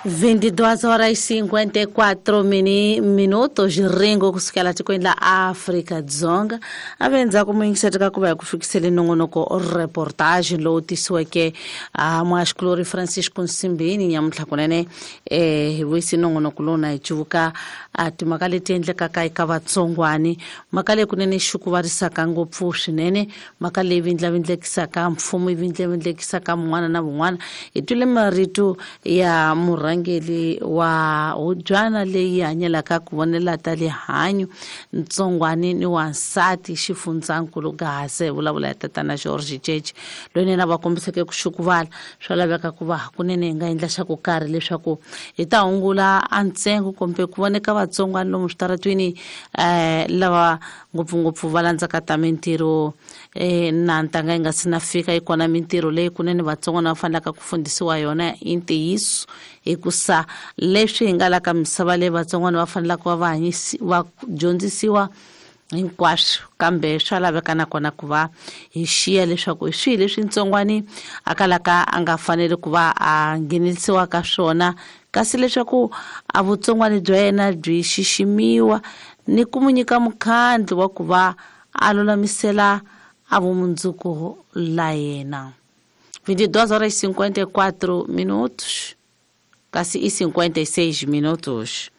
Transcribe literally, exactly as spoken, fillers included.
Vinte e duas horas e cinquenta e quatro minutos, ringo kusukela tikweni la Afrika Dzonga. A ve ndzhaku muyingiseri ka ku va hi ku fikisele nongonoko reportage lowu tisiweke a muhaxikulori Francisco Nsimbini nyamuntlha kunene eh hi vuyisi nongonoko lowu na hi cuvuka a timhaka leti endlekaka eka vatsongwani, mhaka leyi kunene xi ku varisaka ngopfu swinene, mhaka leyi vindlavindlekisaka mfumo yi vindlavindlekisaka mun'wana na vun'wana. Hi twile marito ya murhangeri wa hubyana leyi hanyelaka ku vonela ta rihanyo ntsongwani ni wansati xifundzankulu Gaza, vulavula hi tatana George Jeje loyi na va kombiseke ku xukuvala. Swa laveka ku va hakunene hi nga endla xa ku karhi leswaku hi ta hungula a ntsengo kumbe ku voneka vatsongwani lomu switaratwini eh lava ngopfungopfu va landzaka ta mintirho eh na ntanga yi nga si na fika yi kona mintirho leyi kunene vatsongwana va fanelaka ku fundisiwa yona i ntiyiso, hikusa leswi hi nga la ka misava leyi vatsongwana va fanelaka va va hanyisi va dyondzisiwa hinkwaswo, kambe swa laveka nakona ku va hi xiya leswaku hi swihi leswi ntsongwani a kalaka a nga faneli ku va a nghenelisiwa ka swona, kasi leswaku a vutsongwani bya yena byi xiximiwa ni ku mu nyika mukhandlu wa ku va a lulamisela a vumundzuku la yena. vinte e duas horas e cinquenta e quatro minutos, kasi e cinquenta e seis minutos.